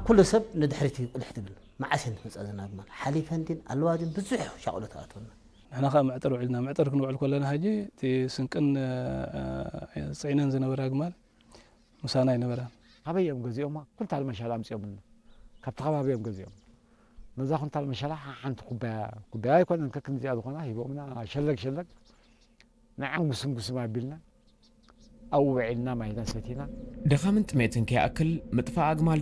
ኩሉ ሰብ ንድሕሪት እዩ ቁልሕ ትብል። መዓስ እየን ትመፃ ዘን ኣግማል? ሓሊፈን ድን ኣለዋ ድን ብዙሕ ሻቕሎ ትኣትወና። ንሕና ከዓ መዕጠር ውዒልና። መዕጠር ክንውዕል ከለና ሕጂ እቲ ስንቅን እ፣ ፅዒነን ዝነበራ ኣግማል ምሳና ኣይነበራን። ካበይ እዮም ገዚኦማ? ኩንታል መሸላ ኣምፂኦምልና። ካብቲ ከባቢ እዮም ገዚኦም። ነዛ ኩንታል መሸላ ሓንቲ ኩባያ፣ ኩባያ ኣይኮነን፣ ከክንዚኣ ዝኾና ሂቦምና። ሸለግ ሸለግ ንዓም ጉስም ጉስም ኣቢልና ኣብኡ ውዒልና፣ ማይና ሰቲና። ድኻምን ጥሜትን ከይኣክል ምጥፋእ ኣግማል